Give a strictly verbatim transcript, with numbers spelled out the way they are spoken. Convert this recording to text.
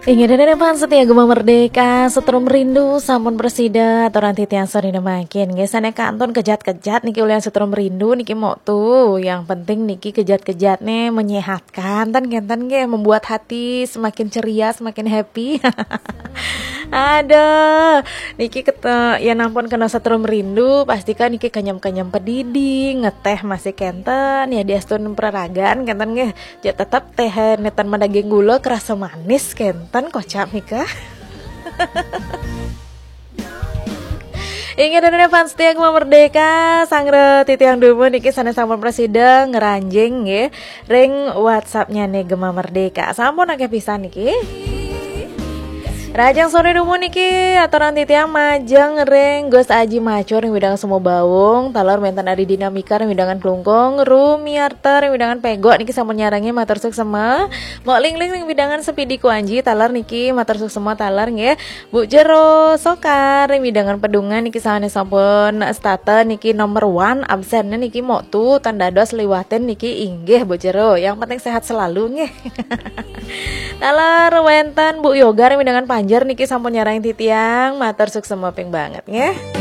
Inggih, dene fans setia Gema Merdeka, Setrum Rindu sampun presida, aturan titiang sore nemakin. Nggih, sane kantun kejat-kejat niki ulian Setrum Rindu niki mok tu. Yang penting niki kejat-kejat ne menyehatkan, ten kenten nggih, membuat hati semakin ceria, semakin happy. Aduh, niki kete, ya nampun kena Setrum Rindu, pastikan niki kenyem-kenyem pedidi, ngeteh masih kenten, ya diastun peraragan kenten nggih. Ya tetap teh netan madaging gula kerasa manis kenten kocap nika. Inggih, dene fans setia Gema Merdeka, sangre titiang dumun niki sane sampun presida ngranjing nggih ring WhatsApp-nya ne Gema Merdeka. Sampun akeh pisan niki. Rajang sore dumun niki aturan titiang majeng ring Gus Aji Macur ring widang Sumobawung, taler wenten Adi Dinamika ring widangan Klungkung, Rumiarta ring widangan Pegok niki sampun nyarengi matur suksema. Mok Ling Ling ring widangan Sepidi Kuanji, taler niki matur suksema taler nggih. Bu Jero Sokar ring widangan Pedungan niki sane sampun stata niki nomor one absen niki mok tu tan dados liwatin niki inggih Bu Jero. Yang penting sehat selalu nggih. Taler wenten Bu Yoga ring widangan Panjer niki sampun nyarang titiang, matur suksema ping banget nggih.